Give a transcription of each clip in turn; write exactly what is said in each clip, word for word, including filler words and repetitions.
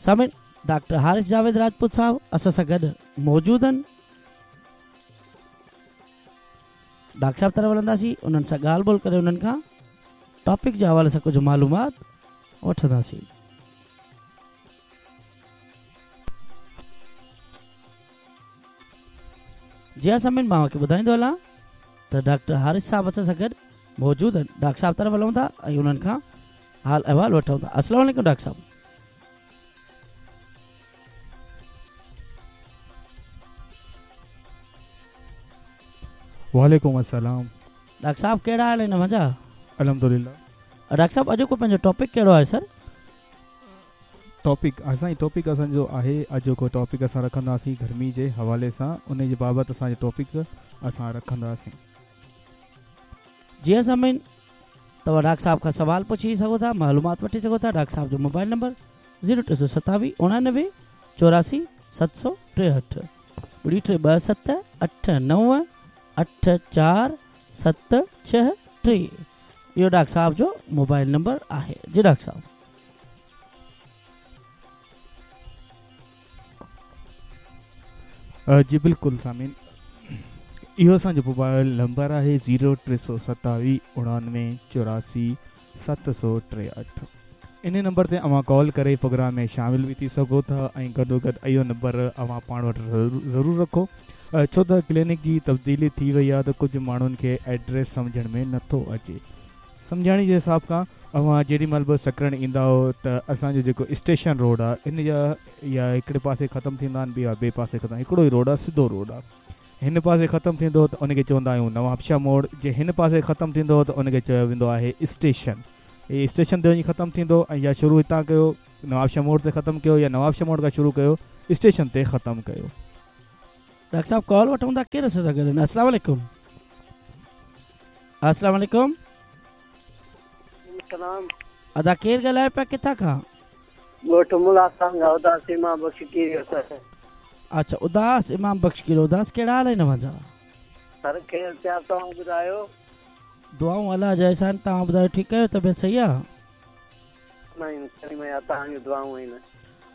सामिन doctor Haris Javed Rajput साहब असां सां गॾु मौजूदु आहिनि। डॉक्टर साहब तरफ़ हलंदासीं, उन्हनि सां ॻाल्हि ॿोल करे उन्हनि खां टॉपिक जे हवाले सां कुझु मालूमात वठंदासीं। जी हा सामिन, मां तव्हांखे ॿुधाईंदो हलां त डॉक्टर हारिस साहब असां सां गॾु मौजूदु आहिनि। डॉक्टर साहब तरफ़ हलूं था ऐं उन्हनि खां हाल अहिवाल वठूं था। अस्सलाम वालेकुम डॉक्टर साहब। वालेकुम अस्सलाम। डॉक्टर साहब कहिड़ा हाल आहिनि मुंहिंजा? अल्हम्दुलिल्लाह। डॉक्टर साहब अॼु को पंहिंजो टॉपिक कहिड़ो आहे सर? टॉपिक असांजो टॉपिक असांजो आहे अॼोको टॉपिक असां रखंदासीं गर्मी जे हवाले सां, उन जे बाबति असांजो टॉपिक असां रखंदासीं। जी हा सामीन, तव्हां डॉक्टर साहब खां सवाल पुछी सघो था, मालूमात वठी सघो था। डॉक्टर साहब जो मोबाइल नंबर ज़ीरो टे सौ सतावीह उणानवे चौरासी सत सौ टेहठि ॿुड़ी टे ॿ सत अठ नव अठ चारि सत छह टे, इहो डॉक्टर साहब जो मोबाइल नंबर आहे। जी डॉक्टर साहब। जी बिल्कुलु सामीन, इहो असांजो मोबाइल नंबर आहे ज़ीरो टे सौ सतावीह उणानवे चौरासी सत सौ टेहठि। इन नंबर ते अवां कॉल करे प्रोग्राम में शामिल बि थी सघो था ऐं गॾोगॾु इहो नंबर अवां पाण वटि ज़रूरु रखो, छो त क्लिनिक जी तब्दीली थी वई आहे त कुझु माण्हुनि खे एड्रेस सम्झण में नथो अचे। सम्झाणी जे हिसाब खां अवां जेॾी महिल बि सकरण ईंदा हो त असांजो जेको स्टेशन रोड आहे इन जा या हिकिड़े पासे ख़तमु थींदा आहिनि, ॿिया ॿिए पासे ख़तमु, हिकिड़ो ई रोड आहे, सिधो रोड आहे। हिन पासे ख़तमु थींदो त उनखे चवंदा आहियूं नवाबशाह मोड़, जे हिन पासे ख़तमु थींदो त उनखे चयो वेंदो आहे स्टेशन। इहे स्टेशन ते वञी ख़तमु थींदो ऐं या शुरू हितां कयो नवाबशाह मोड़ ते ख़तमु कयो या नवाबशाह मोड़ खां शुरू कयो स्टेशन ते ख़तमु कयो। डॉक्टर साहब कॉल वठूं था, केरु असां सां गॾु आहिनि? अस्सलाम वालेकुम। अस्सलाम वालेकुम। अदा केरु ॻाल्हाए पिया, किथां खां? ॻोठ मुला खां उदास इमाम बख़्श कीरियो। अच्छा, उदास इमाम बख़्श कीरियो। उदास कहिड़ा हाल आहिनि तव्हांजा? सर ख़ैर पिया, तव्हां ॿुधायो? दुआऊं अलाह जा एहसान, तव्हां ॿुधायो ठीकु आहियो? तबियत सही आहे? तव्हांजूं दुआऊं आहिनि।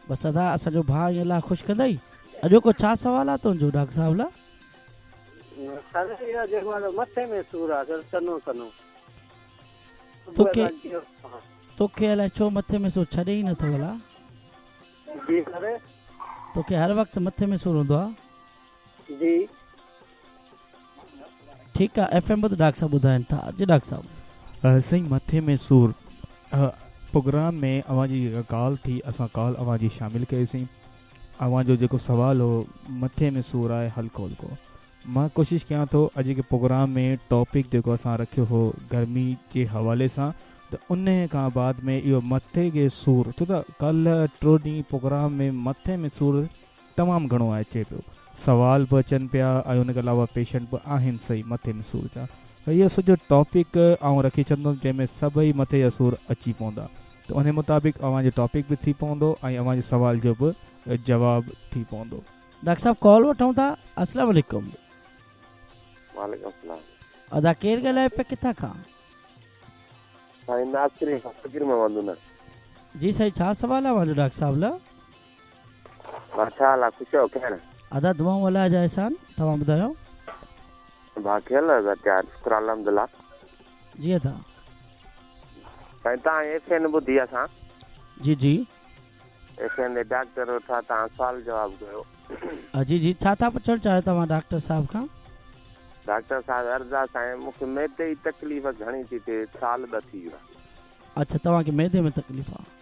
बसि अदा असांजो भाउ अलाह ख़ुशि कंदई। अॼोको छा सवाल आहे तुंहिंजो डॉक्टर साहब लाइ? सर इहो जेको आहे मथे में सूर आहे सर, सनो सनो। तोखे तोखे अलाए छो मथे में सूर छॾे ई नथो भला? जी सर। तोखे हर वक़्तु मथे में सूर हूंदो आहे? जी। ठीकु आहे, एफ एम ॿुध डॉक्टर साहब ॿुधाइनि था। जी डॉक्टर साहब। साईं मथे में सूर प्रोग्राम में अव्हांजी जेका ॻाल्हि थी, असां कॉल अव्हांजी शामिल कईसीं। अव्हांजो जेको सवाल हो मथे में सूर आहे हल्को हल्को, मां कोशिशि कयां थो अॼु जे प्रोग्राम में टॉपिक जेको असां रखियो हो गर्मी जे हवाले सां, त उन खां बाद में इहो मथे खे सूर, छो त कल्ह टियों ॾींहुं प्रोग्राम में मथे में सूर तमामु घणो अचे पियो, सवाल बि अचनि पिया ऐं उनखां अलावा पेशेंट बि आहिनि सही मथे में सूर जा। इहो सॼो टॉपिक आउं रखी छॾींदुमि जंहिंमें सभई मथे जा सूर अची पवंदा, त उन मुताबिक़ अव्हांजो टॉपिक बि थी पवंदो ऐं अव्हांजे सवाल जो बि जवाबु थी पवंदो। डॉक्टर साहब कॉल वठूं था। अस्सलाम वालेकुम। वालेकुम सलाम। अदा केरु ॻाल्हाए पिया, किथां खां? साईं नासिर फ़क़ीर मोहम्मद ना। जी साईं, छा सवाल आहे अव्हांजो डॉक्टर साहब लाइ? छा हाल आहे, ख़ुशि आहियो? ख़ैर अदा दुआऊं अलाह जा एहसान, तव्हां ॿुधायो? भाउ ख़ैर अदा त्यार, शुक्र अल्हम्दुलिल्लाह। जी अदा। साईं तव्हां एफ एन ॿुधी असां? जी जी। एफ एन ते डॉक्टर वेठा, तव्हां सवाल जवाबु कयो। जी जी, छा था पुछणु चाहियो तव्हां डॉक्टर साहब खां? डॉक्टर साहब अर्ज़ आहे साईं, मूंखे मैदे जी तकलीफ़ घणी थी थिए, साल ॿ थी वियो। अच्छा, तव्हांखे मैदे में तकलीफ़ आहे?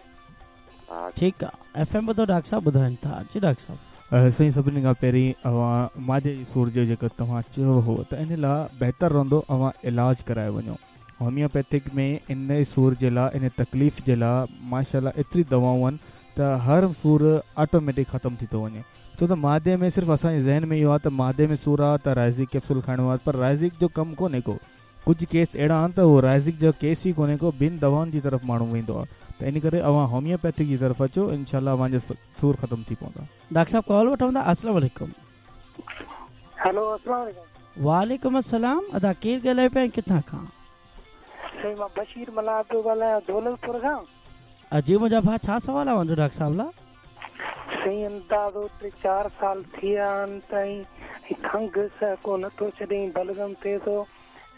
ठीकु आहे, एफ एम ॿुधो डॉक्टर साहब ॿुधाइनि था। जी डॉक्टर साहब। साईं सभिनी खां पहिरीं अव्हां मादे जी सूर जो जेको तव्हां चयो हो त इन लाइ बहितर रहंदो अव्हां इलाज कराए वञो। होमियोपैथिक में इन सूर जे लाइ, इन तकलीफ़ जे लाइ माशाअल्लाह एतिरी दवाऊं आहिनि त हर सूर ऑटोमेटिक ख़तमु थी थो वञे। छो त मादे में सिर्फ़ु असांजे ज़हन में इहो आहे त मादे में सूर आहे त राइज़िक कैप्सूल खाइणो आहे, पर राइज़िक जो कमु कोन्हे को। कुझु केस अहिड़ा आहिनि त उहो राइज़िक जो केस ई कोन्हे को, ॿिनि दवाउनि जी तरफ़ माण्हू वेंदो आहे। त इन करे अव्हां होमियोपैथिक जी तरफ़ अचो, इनशाला अव्हांजो सूर ख़तमु थी पवंदा। डॉक्टर साहब कॉल वठूं था। अस्सलाम वालेकुम। हेलो, अस्सलाम वालेकुम। वालेकुम अस्सलाम। अदा केरु ॻाल्हाए पिया ऐं किथां खां? साईं मां बशीर मलाह पियो ॻाल्हायां, दौलतपुर खां। जी मुंहिंजा भाउ, छा सवाल आहे अव्हांजो डॉक्टर साहब लाइ? साईं अंदाज़ो टे चारि साल थी विया आहिनि त खंघ सहको नथो छॾे, बलगम थिए थो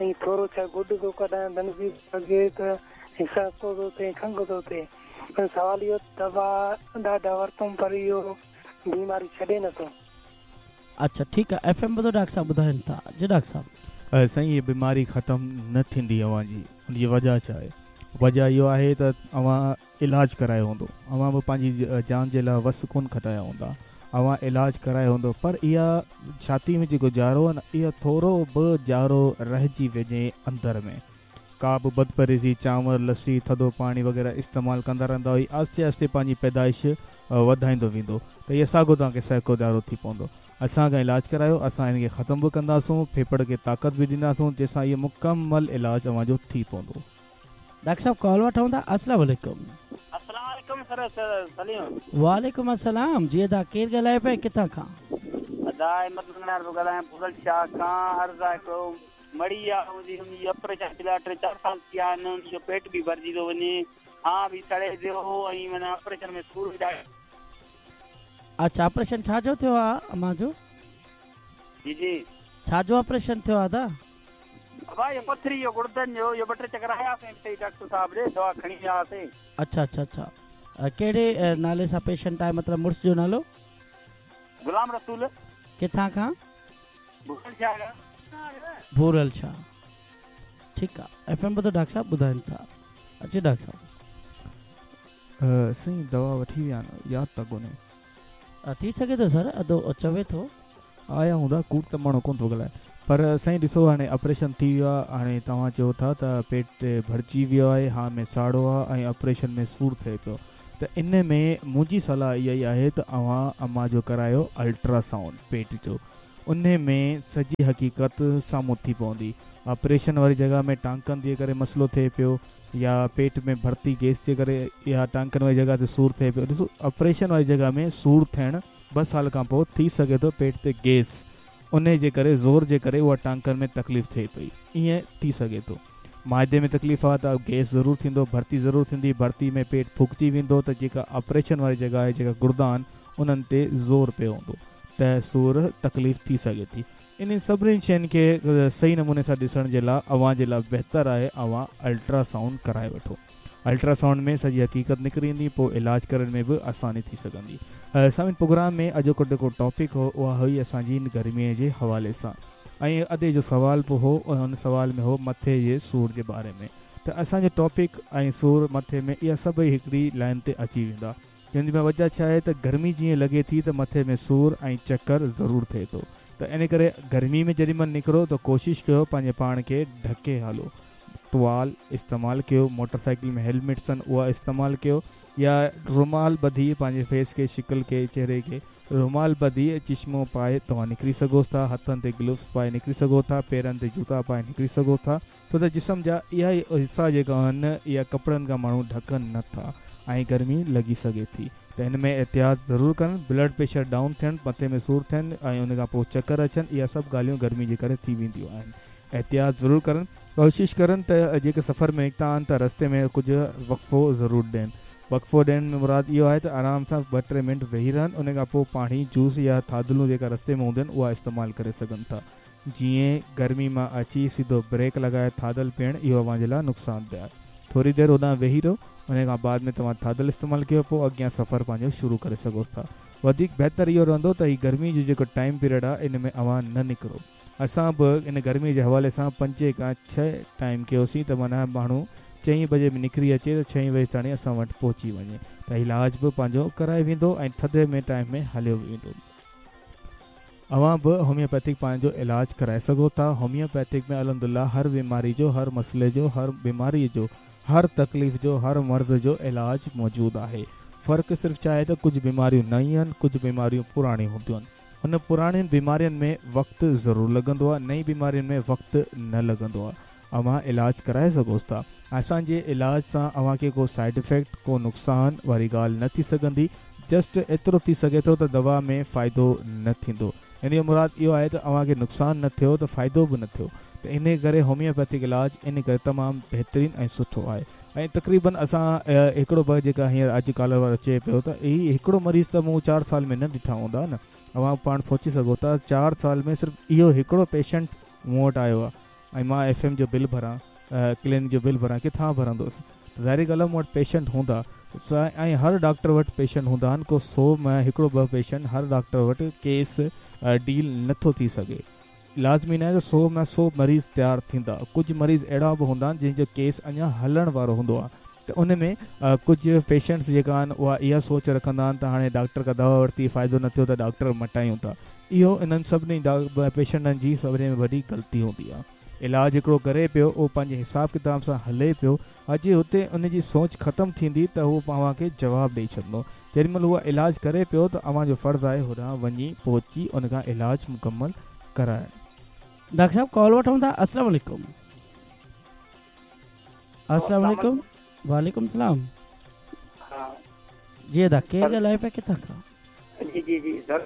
ऐं थोरो छा गुड थो कढाए बणिजी सघे त सहको थो थिए, खंघ थो थिए। सवाल इहो दवा ॾाढा वरितुमि पर इहो बीमारी छॾे नथो। अच्छा ठीकु आहे, एफ एम ॿुधो डॉक्टर साहिबु ॿुधाइनि था। जी डॉक्टर साहिबु। साईं हीअ बीमारी ख़तमु न थींदी अव्हांजी, हुनजी वजह छा आहे? वजह इहो आहे त अव्हां इलाज करायो हूंदो, अव्हां बि पंहिंजी जान जे लाइ वस कोन खटाया हूंदा, अव्हां इलाज करायो हूंदो, पर इहा छाती में जेको जारो आहे न, इहो थोरो बि जारो रहिजी वञे अंदरि में, का बि बदपरहेज़ी, चांवर, लस्सी, थधो पाणी वग़ैरह इस्तेमालु कंदा रहंदा हुई, आहिस्ते आहिस्ते पंहिंजी पैदाइश वधाईंदो वेंदो, त इहो साॻियो तव्हांखे सहको जारो थी पवंदो। असां खां इलाज करायो, असां हिनखे ख़तमु बि कंदासूं, फेफड़ खे ताक़त बि ॾींदासूं, जंहिंसां इहो मुकमल इलाज अव्हांजो थी पवंदो। डॉक्टर साहब कॉल वठूं था। अस्सलाम वालेकुम। अस्सलाम वालेकुम सर सलीम। वालेकुम अस्सलाम। जी अदा केरु ॻाल्हाए पियो किथां खां? अदा अहमद मंगनार थो ॻाल्हायां, फुगल शाह खां। अर्ज़ आहे हिकिड़ो मड़ी आहे मुंहिंजी, हुनजी ऑपरेशन थियल आहे, टे चारि साल थी विया आहिनि, हुनजो पेट बि भरिजी थो वञे, हा बि सड़े पियो ऐं माना ऑपरेशन में सूर बि ॾाढो। अच्छा ऑपरेशन छा जो थियो आहे अम्मा जो? जी जी। छा जो ऑपरेशन थियो आहे अदा? बाबा इहो पथरी जो गुर्दनि जो, इहो ॿ टे चकर आयासीं हिते डॉक्टर साहिब ॾे, दवा खणी विया हुआसीं। अच्छा अच्छा अच्छा। कहिड़े नाले सां पेशेंट आहे, मतिलबु मुड़ुस जो नालो? गुलाम रसूल। किथां खां? भूरल शाह खां। भूरल शाह, ठीकु आहे। एफ एम ॿुधो डॉक्टर साहिबु ॿुधाइनि था। अचे डॉक्टर साहिबु। साईं दवा वठी विया आहिनि, यादि त कोन्हे। थी सघे थो सर, अदो चवे थो आया हूंदा, कूड़ त माण्हू कोन थो ॻाल्हाए। पर साईं ॾिसो हाणे ऑपरेशन थी वियो आहे, हाणे तव्हां चओ था त पेट भरिजी वियो आहे, हा में साड़ो आहे ऐं ऑपरेशन में सूर थिए पियो, त इन में मुंहिंजी सलाह इहा ई आहे त अव्हां अम्मा जो करायो अल्ट्रासाउंड पेट जो, उन में सॼी हक़ीक़त साम्हूं थी पवंदी। ऑपरेशन वारी जॻह में टांकनि जे करे मसइलो थिए पियो, या पेट में भर्ती गैस जे करे, या टांकनि वारी जॻह ते सूर थिए पियो। ॾिसो ऑपरेशन वारी जॻह में सूर थियणु ॿ साल खां पोइ थी सघे थो, पेट ते गैस उन जे करे ज़ोर जे करे उहा टांकनि में तकलीफ़ थिए पई, ईअं थी सघे थो। माइदे में तकलीफ़ आहे त गैस ज़रूरु थींदो, भर्ती ज़रूरु थींदी, भर्ती में पेट फुकिजी वेंदो, त जेका ऑपरेशन वारी जॻह आहे, जेका गुर्दा आहिनि, उन्हनि ते ज़ोर पियो हूंदो, त सूर तकलीफ़ थी सघे थी। इन सभिनी शयुनि खे सही नमूने सां ॾिसण जे लाइ अव्हां जे लाइ बहितरु आहे अव्हां अल्ट्रासाउंड कराए वठो। अल्ट्रासाउंड में सॼी हक़ीक़त निकिरी ईंदी, पोइ इलाज करण में बि आसानी थी सघंदी। सामिन प्रोग्राम में अॼोको जेको टॉपिक हो उहा हुई असांजी गर्मीअ जे हवाले सां, ऐं अदे जो सवाल बि हो, हुन सवाल में हो मथे जे सूर जे बारे में। त असांजो टॉपिक ऐं सूर मथे में इहा सभई हिकिड़ी लाइन ते अची वेंदा। जंहिंजी में वजह छा आहे त गर्मी जीअं लॻे थी त मथे में सूर ऐं चकर ज़रूरु थिए थो, त इन करे गर्मी में जेॾी महिल निकिरो त कोशिशि कयो पंहिंजे पाण खे ढके हलो, तुवाल इस्तेमालु कयो, मोटरसाइकिल में हेलमेट्स आहिनि उहा इस्तेमालु कयो, या रुमाल ॿधी पंहिंजे फेस खे, शिकल खे, चेहरे खे रुमाल ॿधी चश्मो पाए तव्हां निकिरी सघो था, हथनि ते ग्लव्स पाए निकिरी सघो था, पेरनि ते जूता पाए निकिरी सघो था, छो त जिस्म जा इहा ई हिसा जेका आहिनि इहा कपिड़नि खां माण्हू ढकनि नथा ऐं गर्मी लॻी सघे थी। त हिन में एहतियात ज़रूरु कनि। ब्लड प्रेशर डाउन थियनि, मथे में सूर थियनि ऐं उन खां पोइ चकर अचनि, इहा सभु ॻाल्हियूं गर्मी जे करे थी वेंदियूं आहिनि। एहतियात ज़रूरु करनि, कोशिशि करनि त जेके सफ़र में निकिता आहिनि त रस्ते में कुझु वक़्फ़ो ज़रूरु ॾियनि। वक़्फ़ो ॾियण में मुराद इहो आहे त आराम सां ॿ टे मिंट वेही रहनि, उन खां पोइ पाणी, जूस या थादलूं जेका रस्ते में हूंदियूं आहिनि उहा इस्तेमालु करे सघनि था। जीअं गर्मी मां अची सिधो ब्रेक लॻाए थादल पीअणु इहो अव्हांजे लाइ नुक़सानदेह आहे। थोरी देरि होॾां वेही रहो, उन खां बाद में तव्हां थादल इस्तेमालु कयो, पोइ अॻियां सफ़र पंहिंजो शुरू करे सघो था। वधीक बहितरु इहो रहंदो त हीउ गर्मी जो जेको टाइम पीरियड आहे इन में अव्हां न निकिरो। असां बि इन गर्मी जे हवाले सां पंजे खां छह टाइम कयोसीं त माना माण्हू चई बजे बि निकिरी अचे त छह बजे ताईं असां वटि पहुची वञे त इलाज बि पंहिंजो कराए वेंदो ऐं थधे में टाइम में हलियो वेंदो। अव्हां बि होम्योपैथिक पंहिंजो इलाज कराए सघो था। होम्योपैथिक में अल्हम्दुलिल्लाह हर बीमारी जो, हर मसइले जो, हर बीमारीअ जो, हर तकलीफ़ जो, हर मर्ज़ जो इलाज मौजूदु आहे। फ़र्क़ु सिर्फ़ु छा आहे त कुझु बीमारियूं नयूं आहिनि, कुझु बीमारियूं पुराणियूं हूंदियूं आहिनि। हुन पुराणियुनि बीमारियुनि में वक़्तु ज़रूरु लॻंदो आहे, नई बीमारियुनि में वक़्तु न लॻंदो आहे। अव्हां इलाज कराए सघो था। असांजे इलाज सां अव्हांखे को साइड इफ़ेक्ट, को नुक़सानु वारी ॻाल्हि न थी सघंदी। जस्ट एतिरो थी सघे थो त दवा में फ़ाइदो न थींदो। इन जो मुराद इहो आहे त अव्हांखे नुक़सानु न थियो त फ़ाइदो बि न थियो। त इन करे होम्योपैथिक इलाज इन करे तमामु बहितरीनु ऐं सुठो आहे। ऐं तक़रीबन असां हिकिड़ो ॿ जेका हींअर अॼु कॉलर वारो चए पियो त ही हिकिड़ो मरीज़ त मूं चारि साल में न ॾिठा हूंदा न। अवां पाण सोची सघो था चारि साल में सिर्फ़ु इहो हिकिड़ो पेशेंट मूं वटि आयो आहे ऐं मां एफ एम जो बिल भरां, क्लिनिक जो बिल भरां, किथां भरंदुसि? ज़ाहिरी ॻाल्हि आहे मूं वटि पेशेंट हूंदा ऐं हर डॉक्टर वटि पेशेंट हूंदा आहिनि, को सौ में हिकिड़ो ॿ पेशेंट हर डॉक्टर वटि केस डील नथो थी सघे। लाज़मी न आहे त सौ में सौ मरीज़ तयारु थींदा, कुझु मरीज़ अहिड़ा बि हूंदा आहिनि जंहिंजो केस अञा हलण वारो हूंदो आहे त उन में कुझु पेशेंट्स जेका आहिनि उहा इहा सोच रखंदा आहिनि त हाणे डॉक्टर खां दवा वरिती फ़ाइदो न थियो त डॉक्टर मटायूं था। इहो इन्हनि सभिनी पेशेंटनि जी सभिनी में वॾी ग़लती हूंदी आहे। इलाज हिकिड़ो करे पियो, उहो पंहिंजे हिसाब किताब सां हले पियो, अॼु हुते उनजी सोच ख़तमु थींदी त उहो तव्हांखे जवाबु ॾेई छॾींदो। जेॾी महिल उहा इलाज करे पियो त अव्हांजो फ़र्ज़ु आहे होॾां वञी पहुची उन खां इलाज मुकमल कराए। डॉक्टर साहब कॉल वठूं था। अस्सलाम वालेकुम। अस्सलाम वालेकुम। वालेकुम सलाम। जी अदा केरु ॻाल्हाए पिया, किथां खां? जी जी जी सर,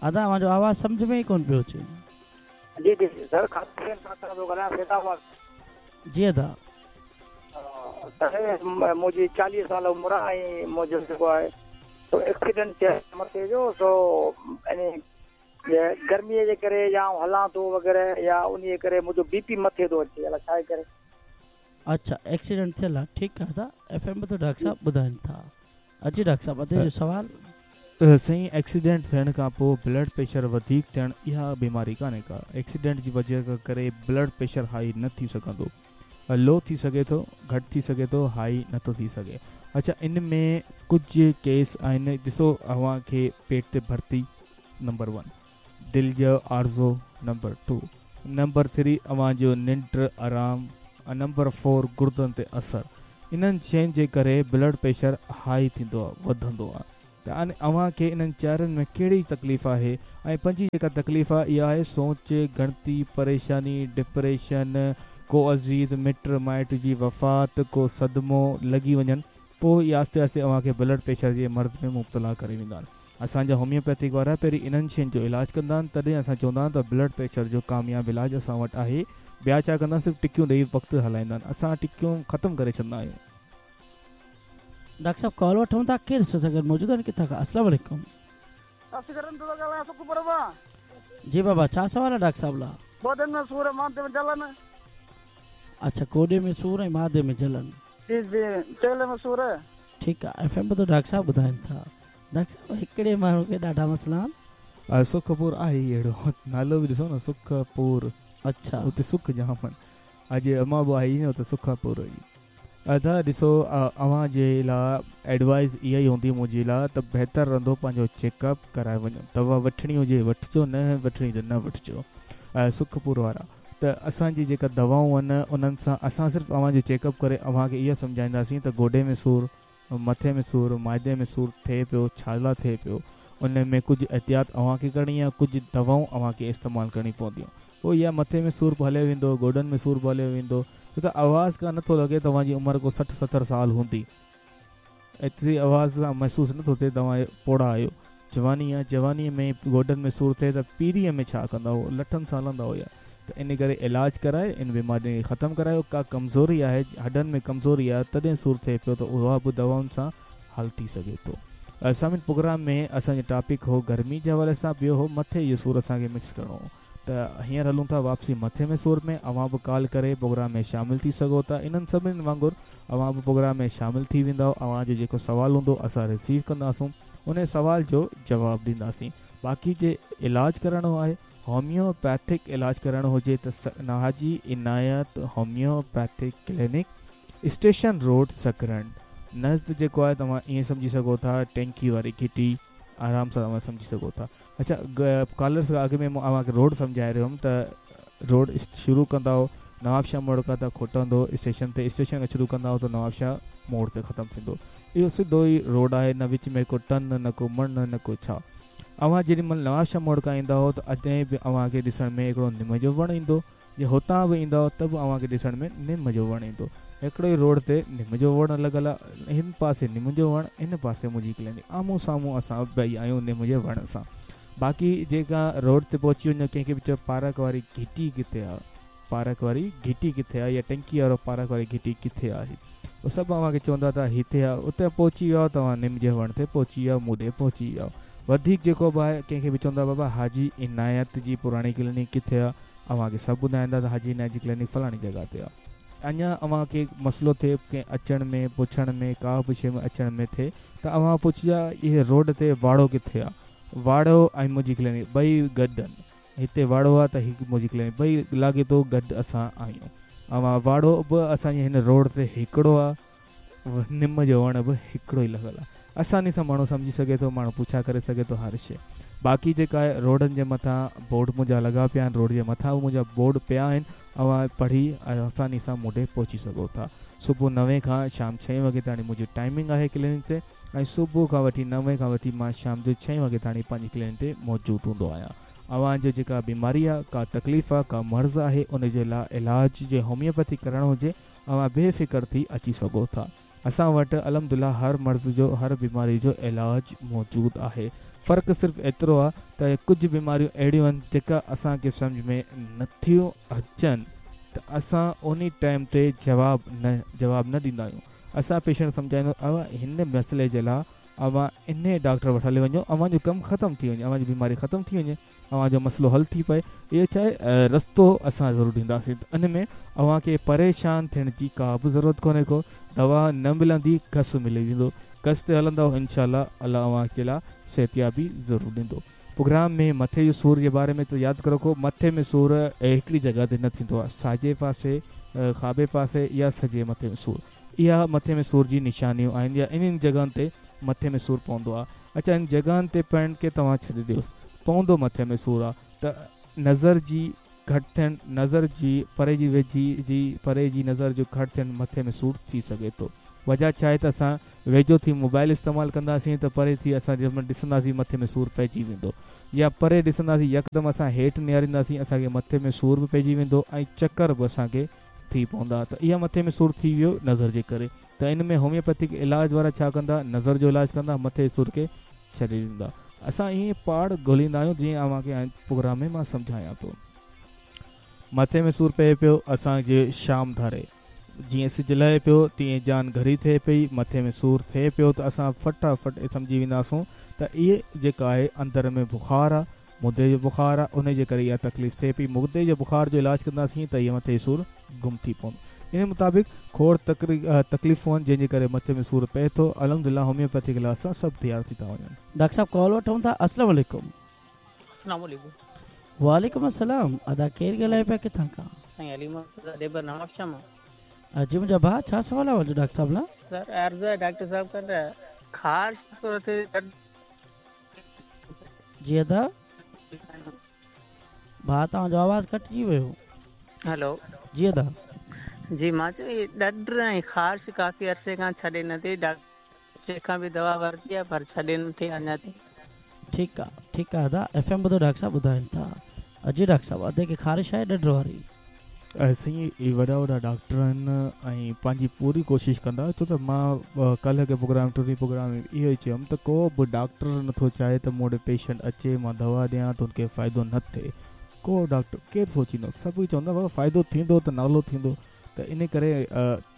अदा अव्हांजो आवाज़ सम्झ में ई कोन पियो अचे। जी जी सर, खां ॻाल्हायां। जी अदा, सर मुंहिंजी चालीह साल उमिरि आहे ऐं मुंहिंजो जेको आहे सो एक्सीडेंट थियो मथे जो, सो गर्मीअ जे करे या हलां थो वग़ैरह या उन जे करे मुंहिंजो बीपी मथे थो अचे, अलाए छा करे। अच्छा, एक्सीडेंट थियल आहे, ठीकु आहे अदा। एफ एम ते डॉक्टर साहिबु ॿुधाइनि था। अची डॉक्टर साहिबु, अदे जो सवाल। साईं, एक्सीडेंट थियण खां पोइ ब्लड प्रेशर वधीक थियणु इहा बीमारी कान्हे का। एक्सीडेंट जी वजह करे ब्लड प्रेशर हाई न थी सघंदो, लो थी सघे थो, घटि थी सघे थो, हाई नथो थी सघे। अच्छा, इन में कुझु केस आहिनि, ॾिसो अव्हांखे पेट ते भर्ती नंबर वन, दिलि जो आर्ज़ो नंबर टू, नंबर थ्री अव्हांजो निंड आराम, नंबर फोर गुर्दनि ते असरु। इन्हनि शयुनि जे करे ब्लड प्रेशर हाई थींदो आहे, वधंदो आहे। त हाणे अव्हांखे इन्हनि चारनि में कहिड़ी तकलीफ़ आहे? ऐं पंजी जेका तकलीफ़ आहे इहा आहे सोच, गिणती, परेशानी, डिप्रेशन, को अज़ीज़ मिट माइट जी वफ़ात, को सदमो लॻी वञनि, पोइ आहिस्ते आहिस्ते अव्हांखे ब्लड प्रेशर जे मर्ज़ में मुब्तला करे वेंदा आहिनि। असांजा होम्योपैथिक वारा पहिरीं इन्हनि शयुनि जो इलाज कंदा आहिनि, तॾहिं असां चवंदा आहियूं त ब्लड प्रेशर जो कामयाबु इलाज असां वटि आहे। ॿिया छा कंदा आहिनि, सिर्फ़ु टिकियूं ॾेई वक़्तु हलाईंदा आहिनि, असां टिकियूं ख़तमु करे छॾींदा आहियूं। डॉक्टर साहब कॉल वठूं था, केरु सां गॾु मौजूदु आहिनि, किथां खां? अस्सलाम वालेकुम। जी बाबा, छा सवाल आहे डॉक्टर साहब लाइ? गोॾनि में सूर, माथे में जलन। अच्छा, गोॾे में सूर ऐं माथे में जलन। जी जी, चेले में सूर। ठीकु आहे, एफ एम ते डॉक्टर साहब ॿुधाइनि था। डॉक्टर साहब, हिकिड़े माण्हू खे ॾाढा मसइला आहिनि। सुखपुर आहे ई अहिड़ो नालो बि ॾिसो न, सुखपुर। अच्छा, हुते सुख जाम आहिनि। अॼु अमां बि आई न हुते सुखपुर ई। अदा ॾिसो, अव्हां जे लाइ एडवाइस इहा ई हूंदी मुंहिंजे लाइ त बहितर रहंदो पंहिंजो चेकअप कराए वञो। दवा वठणी हुजे वठिजो, न वठणी त न वठिजो। सुखपुर वारा त असांजी जेका दवाऊं आहिनि उन्हनि सां असां सिर्फ़ु अव्हांजो चेकअप करे अव्हांखे इहा सम्झाईंदासीं त गोॾे में सूर, मथे में सूर, माइदे में सूर थिए पियो, छा लाइ थिए पियो, उन में कुझु एहतियात अव्हांखे करणी आहे, कुझु दवाऊं अव्हांखे इस्तेमालु करणी पवंदियूं। पोइ इहा मथे में सूर बि हलियो वेंदो, गोॾनि में सूर बि हलियो वेंदो। छो त आवाज़ खां नथो लॻे तव्हांजी उमिरि को सठि सतरि साल हूंदी, एतिरी आवाज़ सां महसूसु नथो थिए तव्हां पोड़ा आहियो। जवानी आहे, जवानीअ में गोॾनि में सूर थिए त पीरीअ में छा कंदा हुआ, लठनि सां हलंदा हुआ। त इन करे इलाज कराए इन बीमारी खे ख़तमु करायो। का कमज़ोरी आहे, हॾनि में कमज़ोरी आहे तॾहिं सूर थिए पियो त उहा बि दवाउनि सां हल थी सघे थो। असां प्रोग्राम में असांजो टॉपिक हो गर्मी जे हवाले सां, ॿियो हो मथे जो सूर असांखे मिक्स करिणो हो। त हींअर हलूं था वापसी मथे में सूर में। अव्हां बि कॉल करे प्रोग्राम में शामिल थी सघो था। इन्हनि सभिनी वांगुरु अव्हां बि प्रोग्राम में शामिल थी वेंदव। अव्हांजो जेको सवाल हूंदो असां रिसीव कंदासूं, उन सवाल जो जवाबु ॾींदासीं। बाक़ी जे इलाज करिणो आहे, होम्योपैथिक इलाज करिणो हुजे त Haji Inayat homeopathic clinic, station road, Sakrand नज़द जेको आहे तव्हां ईअं सम्झी सघो था, टैंकी वारी घिटी आराम सां तव्हां सम्झी सघो था। अच्छा, कॉलर्स खां अॻु में मां तव्हांखे रोड सम्झाए रहियो हुउमि त रोड शुरू कंदा नवाबशाह मोड़ खां त खोटंदो स्टेशन ते, स्टेशन खां शुरू कंदा त नवाबशाह मोड़ ते ख़तमु थींदो। इहो सिधो ई रोड आहे, न विच में को टन, न को मण, न को छा। अव्हां जेॾी महिल नवाबशाह मोड़ खां ईंदा हो त अॾें बि अव्हांखे ॾिसण में हिकिड़ो निम जो वणु ईंदो, जे हुतां बि ईंदा हो त बि अव्हांखे ॾिसण में निम जो वणु ईंदो। हिकिड़ो ई रोड ते निम जो वणु लॻल आहे, हिन पासे निम जो वणु, हिन पासे मुंहिंजी क्लिनिक, आम्हूं साम्हूं असां ॿई आहियूं निम जे वण सां। बाक़ी जेका रोड ते पहुची वञो, कंहिंखे बि चओ पार्क वारी घिटी किथे आहे, पार्क वारी घिटी किथे आहे या टंकी वारो पार्क वारी घिटी किथे आहे, उहो सभु अव्हांखे चवंदा त हिते आहे, उते पहुची वियो तव्हां निम जे वण ते पहुची विया, मूं ॾे पहुची विया। वधीक जेको बि आहे कंहिंखे बि चवंदा बाबा हाजी इनायत जी पुराणी क्लिनिक किथे आहे, अव्हांखे सभु ॿुधाईंदा त हाजी इनायत जी क्लिनिक फलाणी जॻह ते आहे। अञा अव्हांखे मसइलो थिए कंहिं अचण में, पुछण में, का बि शइ में अचण में थिए त अव्हां पुछजा इहे रोड ते वाड़ो किथे आहे, वाड़ो ऐं मुंहिंजी क्लिनिक ॿई गॾु आहिनि, हिते वाड़ो आहे त हीअ मुंहिंजी क्लिनिक ॿई लाॻीतो गॾु असां आहियूं। अव्हां वाड़ो बि असांजे हिन रोड ते हिकिड़ो आहे, निम जो वण बि हिकिड़ो ई लॻल आहे। आसानी सां माण्हू सम्झी सघे थो, माण्हू पुछा करे सघे थो हर शइ। बाक़ी जेका आहे रोडनि जे मथां बोर्ड मुंहिंजा लॻा पिया आहिनि, रोड जे मथां बि मुंहिंजा बोर्ड पिया आहिनि, अव्हां पढ़ी आसानी सां मूं ॾे पहुची सघो था। सुबुह नवे खां शाम छह वॻे ताईं मुंहिंजी टाइमिंग आहे क्लिनिक ते, ऐं सुबुह खां वठी नवे खां वठी मां शाम जो छह वॻे ताईं पंहिंजी क्लिनिक ते मौजूदु हूंदो आहियां। अव्हांजो जेका बीमारी आहे, का तकलीफ़ आहे, का मर्ज़ आहे, उन जे लाइ इलाज जे होमियोपैथी करणो हुजे, अव्हां बेफ़िक्र थी अची सघो था। असां वटि अल्हम्दुलिल्लाह हर मर्ज़ जो, हर बीमारी जो इलाज मौजूदु आहे। फ़र्क़ु सिर्फ़ु एतिरो आहे त कुझु बीमारियूं अहिड़ियूं आहिनि जेका असांखे सम्झ में नथियूं अचनि त असां उन टाइम ते जवाबु न जवाबु न ॾींदा आहियूं। असां पेशेंट सम्झाईंदा अव्हां हिन मसइले जे लाइ अव्हां इन डॉक्टर वटि हली वञो, अव्हांजो कमु ख़तमु थी वञे, अव्हांजी बीमारी ख़तमु थी वञे, अव्हांजो मसइलो हल थी पए। इहो छा आहे रस्तो असां ज़रूरु ॾींदासीं, त इन में अव्हांखे परेशान थियण जी का बि ज़रूरत कोन्हे को। दवा न मिलंदी, कस मिली वेंदो, कस ते हलंदव इंशाअल्लाह अलाह अव्हांजे लाइ सिहतियाबी ज़रूरु ॾींदो। प्रोग्राम में मथे जो सूर जे बारे में त यादि रखो, मथे में सूर हिकिड़ी जॻह ते न थींदो आहे, साॼे पासे, खाॿे पासे या सॼे मथे में सूर, इहा मथे में सूर जी निशानियूं आहिनि या इन्हनि जॻहियुनि ते मथे में सूर पवंदो आहे। अच्छा, इन जॻहियुनि ते पवण खे तव्हां छॾी ॾियोसि, पवंदो मथे में सूर आहे त नज़र जी घटि थियणु, नज़र जी परे जी वेझी जी परे जी नज़र जो घटि थियणु मथे में सूर थी सघे थो। वजह छा आहे त असां वेझो थी मोबाइल इस्तेमालु कंदासीं त परे थी असां जंहिं महिल ॾिसंदासीं मथे में सूर पइजी वेंदो, या परे ॾिसंदासीं यकदमि असां हेठि निहारींदासीं असांखे मथे में सूर बि पइजी वेंदो ऐं चकर बि असांखे थी पवंदा। त इहा मथे में सूर थी वियो नज़र जे करे, त इन में होमियोपैथिक इलाज वारा छा कंदा, नज़र जो इलाज कंदा, मथे जे सूर खे छॾी ॾींदा। असां ईअं पाड़ ॻोल्हींदा आहियूं जीअं अव्हांखे प्रोग्राम में मां सम्झायां थो। मथे में सूर पए पियो असांजे शाम धारे, जीअं सिज लहे पियो तीअं जान घरी थिए पई, मथे में सूर थिए पियो त असां फटाफट सम्झी वेंदासूं त इहे जेका आहे अंदरि में बुखारु आहे, मुदे जो बुखारु आहे, उन जे करे इहा तकलीफ़ थिए पई। मुदे जे बुखार जो इलाज कंदासीं त इहो मथे जो सूर गुम थी पवंदो। इन मुताबिक़ खोड़ तकरी तकलीफ़ूं आहिनि जंहिंजे करे मथे में सूर पए थो। अल्हम्दुलिल्लाह होमियोपैथिक इलाज सां सभु तयारु थी था वञनि। डॉक्टर साहब कॉल वठूं था। अस्सलाम वालेकुम। अस्सलाम वालेकुम। वालेकुम अस्सलाम। अदा केरु ॻाल्हाए पिया, किथां खां? साईं अली मोहम्मद देबर नवाबशाह मां। जी मुंहिंजा भाउ, छा सवाल आहे डॉक्टर साहब लाइ? सर अर्ज़ आहे डॉक्टर साहब खां त ख़ारिश थोरो थिए। जी अदा भाउ तव्हांजो आवाज़ कटिजी वियो। हेलो। जी अदा। जी मां चयो हीअ ॾॾर ऐं ख़ारिश काफ़ी अरसे खां छॾे नथी, डॉक्टर खां बि दवा वरिती आहे पर छॾे नथी अञा ताईं। ठीकु आहे, ठीकु आहे अदा। एफ एम ॿुधो डॉक्टर साहब ॿुधाइनि था। जी डॉक्टर साहब, अदे खे ख़ारिश आहे ॾॾर वारी? साईं इहे वॾा वॾा डॉक्टर आहिनि ऐं पंहिंजी पूरी कोशिशि कंदा, छो त मां काल्ह खे प्रोग्राम टिणी प्रोग्राम में इहो ई चयुमि त को बि डॉक्टर नथो चाहे त मूं वटि पेशेंट अचे, मां दवा ॾियां त हुनखे फ़ाइदो न थिए। को डॉक्टर केरु सोचींदो, सभु चवंदा बाबा फ़ाइदो थींदो त नालो थींदो। त इन करे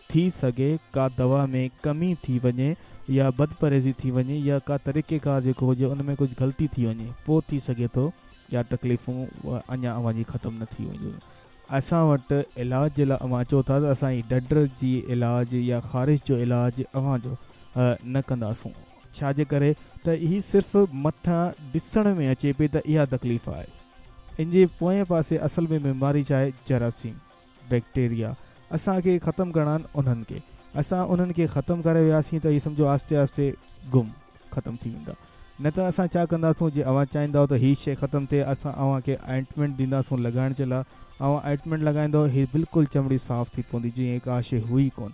थी सघे का दवा में कमी थी वञे या बदपरहेज़ी थी वञे या का तरीक़ेकार जेको हुजे उन में कुझु ग़लती थी वञे, पोइ थी सघे थो या तकलीफ़ूं अञा अव्हांजी ख़तमु न थी वञनि। असां वटि इलाज जे लाइ अव्हां चओ था त असां ॾॾर जी इलाज या ख़ारिश जो इलाज अव्हांजो न कंदासूं, छाजे करे त हीअ सिर्फ़ु मथां ॾिसण में अचे पई त इहा तकलीफ़ आहे, इन जे पोएं पासे असल में बीमारी छा आहे, जरासीम बैक्टीरिया असांखे ख़तमु करणा आहिनि उन्हनि खे। असां उन्हनि खे ख़तमु करे वियासीं त इहे सम्झो आहिस्ते आहिस्ते गुम ख़तमु थी वेंदा। न त असां छा कंदासूं, जे अव्हां चाहींदव त हीअ शइ ख़तमु थिए, असां अव्हांखे आइंटमेंट ॾींदासूं लॻाइण जे लाइ, अव्हां आइंटमेंट लॻाईंदव हीअ बिल्कुलु चमड़ी साफ़ थी पवंदी, जीअं का शइ हुई कोन।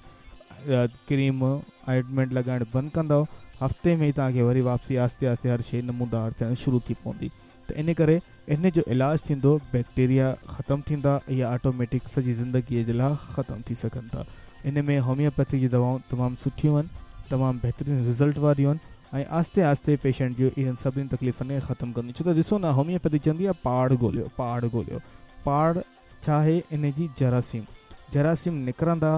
क्रीम आइंटमेंट लॻाइणु बंदि कंदव, हफ़्ते में ई तव्हांखे वरी वापसी आहिस्ते आहिस्ते हर शइ नमूदार थियणु शुरू थी पवंदी। त इन करे इन जो इलाज थींदो, बैक्टीरिया ख़तमु थींदा, इहा ऑटोमेटिक सॼी ज़िंदगीअ जे लाइ ख़तमु थी सघनि था। इन में होमियोपैथी जी दवाऊं तमामु सुठियूं आहिनि, तमामु बहितरीन रिज़ल्ट वारियूं आहिनि ऐं आहिस्ते आहिस्ते पेशेंट जो इन्हनि सभिनी तकलीफ़ुनि खे ख़तमु कंदियूं। छो त ॾिसो न, होमियोपैथी चवंदी आहे पाड़ ॻोल्हियो, पाड़ ॻोल्हियो, पाड़ छा आहे इन जी जरासीम। जरासीम निकिरंदा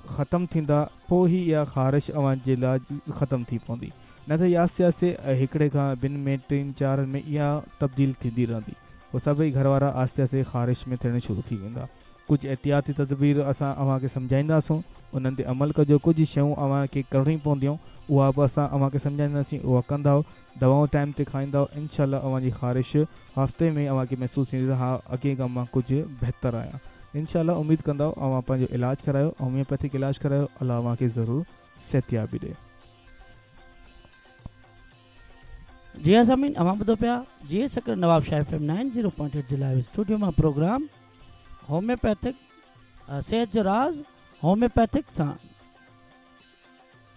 ख़तमु थींदा पोइ ई इहा ख़ारिश अव्हां जे लाइ ख़तमु थी पवंदी, न त आहिस्ते आहिस्ते हिकिड़े खां ॿिनि में टिनि चारि में इहा तब्दील थींदी रहंदी। पोइ सभई घर वारा आहिस्ते आहिस्ते ख़ारिश में थियणु शुरू थी वेंदा। कुझु एहतियाती तदबीर असां अव्हांखे सम्झाईंदासूं, उन्हनि ते अमल कजो। कुझु शयूं अव्हांखे करिणी पवंदियूं, उहा बि असां अव्हांखे सम्झाईंदासीं, उहा कंदव, दवाऊं टाइम ते खाईंदव, इनशा अव्हांजी ख़ारिश हफ़्ते में अव्हांखे महसूसु थींदी त हा अॻे खां मां कुझु बहितर आहियां। इनशा उम्मीद कंदव अव्हां पंहिंजो इलाज करायो, होम्योपैथिक इलाज करायो, अलाह अव्हांखे ज़रूरु सिहतियाबी ॾे। जी हा सामीन, अव्हां ॿुधो पिया जी Sukkur Nawab Shah F M nine zero point eight जे लाइव स्टूडियो मां प्रोग्राम होम्योपैथिक सेहत जो राज़ होम्योपैथिक सां।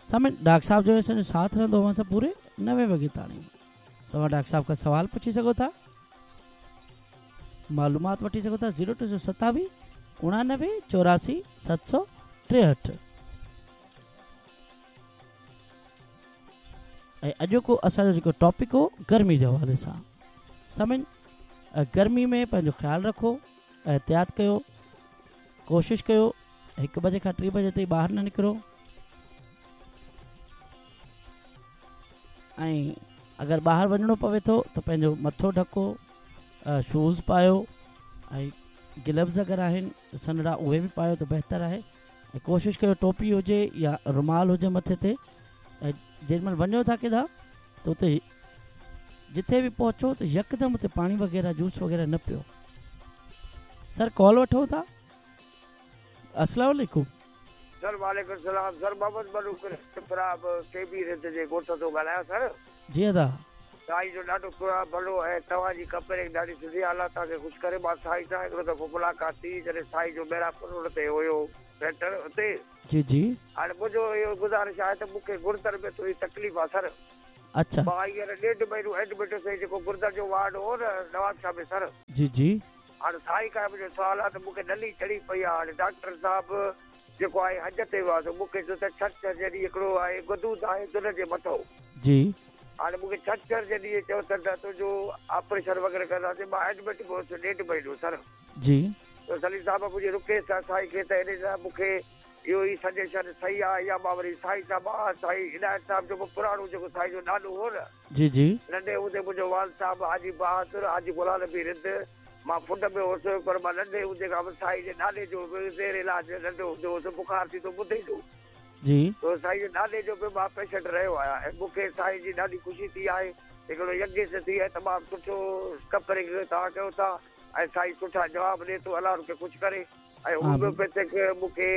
सामीन, डॉक्टर साहब जो असांजो साथ रहंदो अव्हां सां पूरे नवे वॻे ताईं। तव्हां डॉक्टर साहब खां सवाल पुछी सघो था, मालूमात वठी सघो था। ज़ीरो टे सौ सतावीह उणानवे चौरासी सत सौ टेहठि। ऐं अॼोको असांजो जेको टॉपिक हो गर्मी जे हवाले सां। सामीन, गर्मी में पंहिंजो ख़्यालु रखो, एहतियात कयो, कोशिशि कयो हिकु बजे खां टे बजे ताईं ॿाहिरि न निकिरो। ऐं अगरि ॿाहिरि वञिणो पवे थो त पंहिंजो मथो ढको, शूज़ पायो ऐं ग्लव्स अगरि आहिनि सनड़ा उहे बि पायो त बहितर आहे। ऐं कोशिशि कयो टोपी हुजे या रुमाल हुजे मथे ते। ऐं जंहिं महिल वञो था केॾां त उते जिथे बि पहुचो त यकदमि उते पाणी वग़ैरह जूस वग़ैरह न पियो। सर कॉल वठो था। अस्सलाम वालेकुम सर। वालेकुम सलाम सर, मोहम्मद मलूक के बी रिंद जे ॻोठ थो ॻाल्हायां सर। जी अदा, साईं जो ॾाढो भलो ऐं तव्हांजी कंपनी ॾाढी सुठी आहे, अलाह तव्हांखे ख़ुशि करे। मां साईं सां हिकिड़ो दफ़ो मुलाक़ात थी जॾहिं साईं जो मेरापुर रोड ते हुयो सेंटर उते। जी जी। हाणे मुंहिंजो इहो गुज़ारिश आहे त मूंखे गुर्दर में थोरी तकलीफ़ आहे सर। अच्छा। मां हींअर ॾेढ महीनो एडमिट हुयुसि, जेको गुर्दर जो वार्ड हो न नवाब शाह में सर। जी जी। हाणे साईं खां मुंहिंजो सुवालु आहे त मूंखे नली चढ़ी पई आहे। हाणे डॉक्टर साहिबु जेको आहे हज ते वियो आहे, मूंखे चयो त छंछर जे ॾींहुं हिकिड़ो आहे गदूद आहे दुन जे मथां। जी। हाणे मूंखे छंछर जे ॾींहुं चयो त तुंहिंजो ऑपरेशन वग़ैरह कंदासीं। मां एडमिट बि हुयुसि ॾेढ महीनो सर। जी। त सलीम साहिबु मुंहिंजी रिक्वेस्ट आहे साईं खे त हिन सां मूंखे इहो ई सजेशन सही आहे या मां वरी साईं सां मां साईं इनायत साहिबु जो पुराणो जेको साईं जो ॾाॾो हो न। जी जी। नंढे हूंदे मुंहिंजो वाल साहिबु हाजी बहादुर हाजी गुलाम नबी रिंद, मां फुंड में हुउसि पर मां नंढे हूंदे खां साईं जे ॾाॾे जो ज़ेर इलाज नंढो हूंदो हुउसि, बुखार थींदो ॿुधे जो। जी। त साईं जे ॾाॾे जो बि मां पेशेंट रहियो आहियां ऐं मूंखे साईं जी ॾाढी ख़ुशी थी आहे। हिकिड़ो यज्ञ थी आहे, तमामु सुठो कपड़े तव्हां कयो था ऐं साईं सुठा जवाबु ॾिए थो, अलाह हुनखे ख़ुशि करे। ऐं होम्योपैथिक मूंखे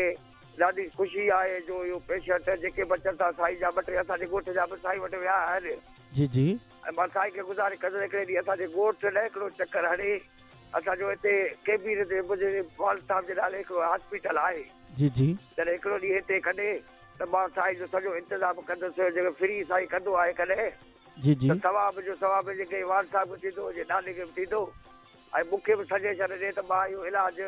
ॾाढी ख़ुशी आहे जो इहो पेशेंट जेके बि अचनि था साईं जा, ॿ टे असांजे ॻोठ जा बि साईं वटि विया आहिनि। जी जी। ऐं मां साईं खे गुज़ारिश कंदुसि हिकिड़े ॾींहुं असांजे ॻोठ लाइ हिकिड़ो चकर हणे। असांजो हिते केबीर ते मुंहिंजे वाल साहिबु जे नाले हिकिड़ो हॉस्पिटल आहे। जी जी। जॾहिं हिकिड़ो ॾींहुं हिते कॾहिं त मां साईं जो सॼो इंतज़ामु कंदुसि, जेको फ्री साईं कंदो आहे कॾहिं। जी जी। त सवाब जो सवाब जेके वाल साहिबु खे थींदो, जे ॾाॾे खे बि थींदो। ऐं मूंखे बि सजेशन ॾे त मां इहो इलाज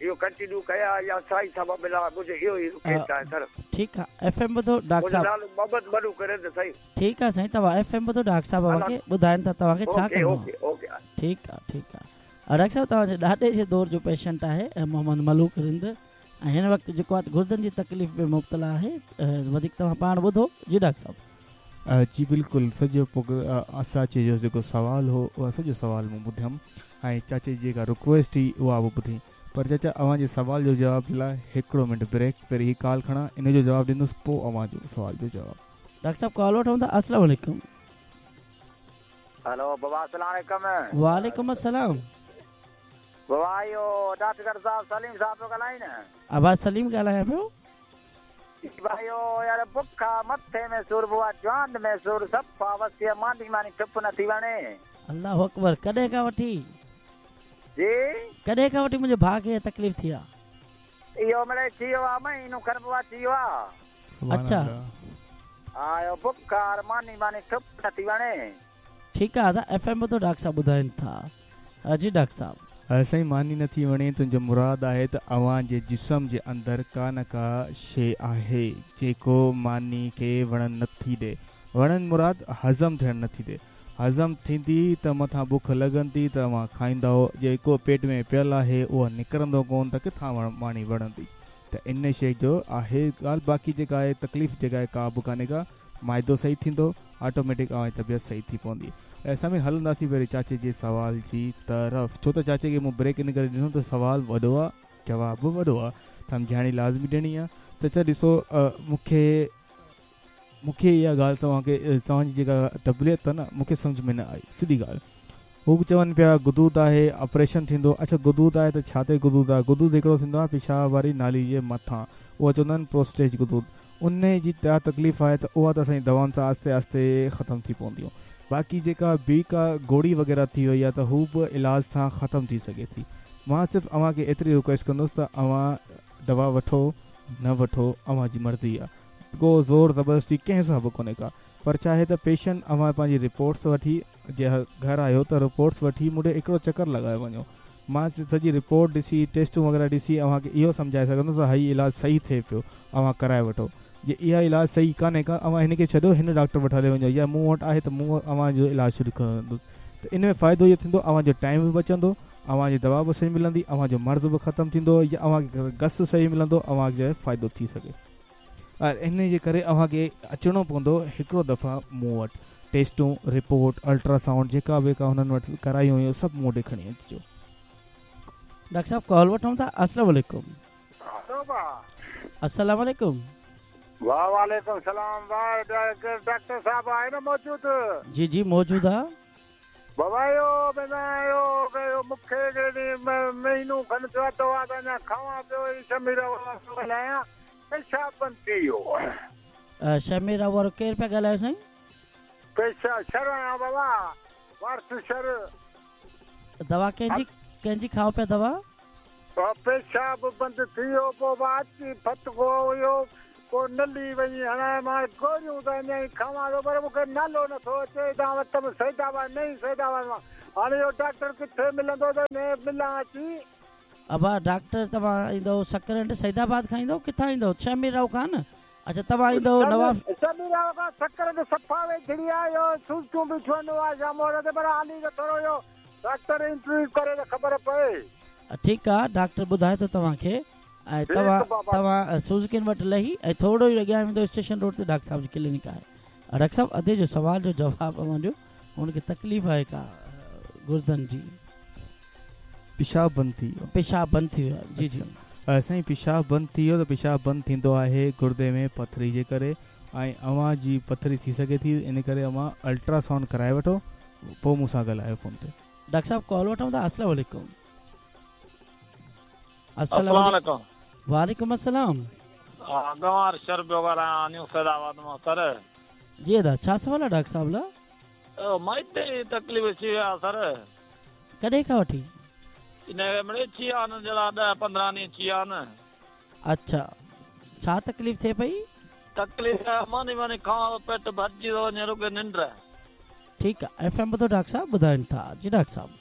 इहो कंटिन्यू कयां या साईं सां मां मिलां, मुंहिंजो इहो ई रिक्वेस्ट आहे सर। ठीकु आहे, एफ एम ॿुधो डॉक्टर साहिबु। नालो मोहम्मद मलू करे त सही। ठीकु आहे साईं, तव्हां एफ एम ॿुधो, डॉक्टर साहिबु अव्हांखे ॿुधाइनि था तव्हांखे छा करिणो आहे। Okay okay. ठीकु आहे ठीकु आहे। डॉक्टर साहिबु, तव्हांजे ॾाॾे जे दौर जो पेशेंट आहे मोहम्मद मलूक रिंद ऐं हिन वक़्तु जेको आहे गुर्दनि जी तकलीफ़ में मुब्तला आहे। वधीक तव्हां पाण ॿुधो। जी डॉक्टर साहिबु। जी बिल्कुलु, सॼो असां जो जेको सवालु हो उहो सॼो सवालु मूं ॿुधयमि ऐं चाचे जी जेका रिक्वेस्ट हुई उहा बि ॿुधी। पर चाचा अव्हांजे सवाल जो जवाब जे लाइ हिकिड़ो मिंट ब्रेक, पहिरीं हीअ कॉल खणा, इन जो जवाबु ॾींदुसि, पोइ अव्हांजो सवाल जो जवाबु। डॉक्टर साहिबु कॉल वठूं था। अस्सलाम वालेकुम। हेलो बाबा, अस्सलाम वालेकुम। वालेकुम अस्सलाम। बाबा इहो डॉक्टर साहिबु सलीम साहिबु पियो ॻाल्हाए न? आवाज़ सलीम ॻाल्हायां पियो। भाई यार बुख मथे में सुर बुआ, जान में सुर, सफ़ा वसिया मांदी मानी ठुप नथी वणे। अल्लाह अकबर। कॾहिं खां वठी? जी कॾहिं खां वठी मुंहिंजे भाउ खे तकलीफ़ थी आहे? इहो मिड़े थी वियो आहे, महीनो खनि बुआ थी वियो आहे। अच्छा। हा, इहो बुखार मानी मानी ठुप नथी वणे। ठीकु आहे दादा, एफ एम ॿुधो, डॉक्टर साहिबु ॿुधाइनि था। जी डॉक्टर साहिबु। साईं मानी नथी वणे तुंहिंजो मुराद आहे त अव्हांजे जिस्म जे अंदरि का न का शइ आहे जेको मानी खे वणनि नथी ॾे। वणनि मुराद हज़म थियणु नथी ॾे। हज़म थींदी त मथां बुख लॻंदी त अव्हां खाईंदव, जेको पेट में पियल आहे उहो निकिरंदो कोन त किथां मानी वणंदी। त इन शइ जो आहे ॻाल्हि। बाक़ी जेका आहे तकलीफ़ जेका आहे का बि कान्हे का, माइदो सही थींदो, ऑटोमेटिक अव्हांजी तबियत सही थी पवंदी। ऐं असां बि हलंदासीं पहिरीं चाचे जे सवाल जी तरफ़, छो त चाचे खे मूं ब्रेक इन करे ॾिनो त सवाल वॾो आहे, जवाबु बि वॾो आहे, सम्झाणी लाज़मी ॾियणी आहे। चाचा ॾिसो, मूंखे मूंखे इहा ॻाल्हि तव्हांखे तव्हांजी जेका तबियत आहे न मूंखे सम्झ में न आई, सिधी ॻाल्हि। हू चवनि पिया गुदूद आहे, ऑपरेशन थींदो। अच्छा गुदूद आहे त छा ते गुदूद आहे? गुदूद हिकिड़ो थींदो आहे पिशाब वारी नाली जे मथां, उहा चवंदा आहिनि प्रोस्टेज गुदूद। उन जी त तकलीफ़ आहे त उहा त असांजी दवाउनि सां आहिस्ते आहिस्ते ख़तमु थी पवंदियूं। बाक़ी जेका ॿी का गोड़ी वग़ैरह थी वई आहे त हू बि इलाज सां ख़तमु थी सघे थी। मां सिर्फ़ु अव्हांखे एतिरी रिक्वेस्ट कंदुसि त अव्हां दवा वठो न वठो अव्हांजी मर्ज़ी आहे, को ज़ोर ज़बरदस्ती कंहिं सां बि कोन्हे का। पर छा आहे त पेशेंट अव्हां पंहिंजी रिपोर्ट्स वठी जे घर आहियो त रिपोर्ट्स वठी मूं ॾे हिकिड़ो चकर लॻाए वञो। मां सॼी रिपोर्ट ॾिसी, टेस्टूं वग़ैरह ॾिसी अव्हांखे इहो सम्झाए सघंदुसि त ही इलाज सही थिए पियो, अव्हां कराए वठो। जे इहा इलाज सही कान्हे का अव्हां हिनखे छॾियो, हिन डॉक्टर वटि हले वञो या मूं वटि आहे त मूं अव्हांजो इलाज शुरू कंदुसि। त इन में फ़ाइदो इहो थींदो अव्हांजो टाइम बि बचंदो, अव्हांजी दवा बि सही मिलंदी, अव्हांजो मर्ज़ बि ख़तमु थींदो या अव्हांखे गस सही मिलंदो, अव्हांखे फ़ाइदो थी सघे। ऐं इन जे करे अव्हांखे अचिणो पवंदो हिकिड़ो दफ़ा मूं वटि, टेस्टूं, रिपोर्ट, अल्ट्रासाउंड जेका बि हुननि वटि कराई हुयूं सभु मूं वटि खणी अचिजो। डॉक्टर साहब कॉल वठूं था। अस्सलाम वालेकुम। अस्सलाम वालेकुम। वाह वालेकुम सलाम। वाह डॉक्टर साहब आहे न मौजूद? जी जी मौजूद आहे। बाबा इहो इहो मूंखे महीनो खणि थियो आहे दवा त अञा खावां पियो, शमीरा वारो ॻाल्हायां, पेशाब बंदि थी वियो। शमीरा वारो केरु पिया ॻाल्हायो साईं? पेशा शर आहियां बाबा, वारस शर। दवा कंहिंजी कंहिंजी खाओ पिया दवा? पेशाब बंदि थी वियो, पोइ अची फटको हुयो, पोइ नली वञी हणाए। मां गोलियूं त अञा ई खावां थो पर मूंखे नालो नथो अचे। तव्हां वटि बि सैदाबाद नई सैदाबाद मां। हाणे इहो डॉक्टर किथे मिलंदो त मिलां अची? अबा डॉक्टर तव्हां ईंदव सकरंड सैदाबाद खां ईंदव, किथां ईंदव? शमीराव खां न? अच्छा तव्हां ईंदव नवाब शमीराव खां सकरंड सफ़ा वेझड़ी आहे। इहो सुचूं बि छुअंदो आहे शाम ते, पर हाली त थोरो इहो डॉक्टर इंटरव्यू करे त ख़बर पए। ठीकु आहे, डॉक्टर ॿुधाए थो तव्हांखे। ऐं तव्हां तव्हां सुज़ुकिन वटि लही ऐं थोरो ई अॻियां वेंदो स्टेशन रोड ते डॉक्टर साहिब जी क्लिनिक आहे। डॉक्टर साहिब अदे जो सवाल जो जवाबु अव्हां ॾियो, हुनखे तकलीफ़ आहे का गुर्दनि जी? पिशाब बंदि थी वियो। पिशाब बंदि थी वियो। जी जी साईं, पिशाब बंदि थी वियो त पिशाब बंदि थींदो आहे गुर्दे में पथरी जे करे, ऐं अव्हां जी पथरी थी सघे थी, इन करे अव्हां अल्ट्रासाउंड कराए वठो, पोइ मूंसां ॻाल्हायो फ़ोन ते। डॉक्टर साहिब कॉल वठूं था। अस्सलाम वालेकुम। अस्सलाम वालेकुम। वालेकुम अस्सलाम। गंवार शर पियो ॻाल्हायां, न्यू सैदाबाद मां सर। जी अदा, छा सवाल आहे डॉक्टर साहिब लाइ? माइते तकलीफ़ थी विया सर। कॾहिं खां वठी? इन मिड़े थी विया आहिनि जहिड़ा ॾह पंद्रहं ॾींहं थी विया आहिनि। अच्छा, छा तकलीफ़ थिए पई? तकलीफ़ मानी मानी खावां पेट भरिजी थो वञे, रुॻे निंड। ठीकु आहे, एफ एम ॿुधो डॉक्टर साहिब ॿुधाइनि था। जी डॉक्टर साहिब।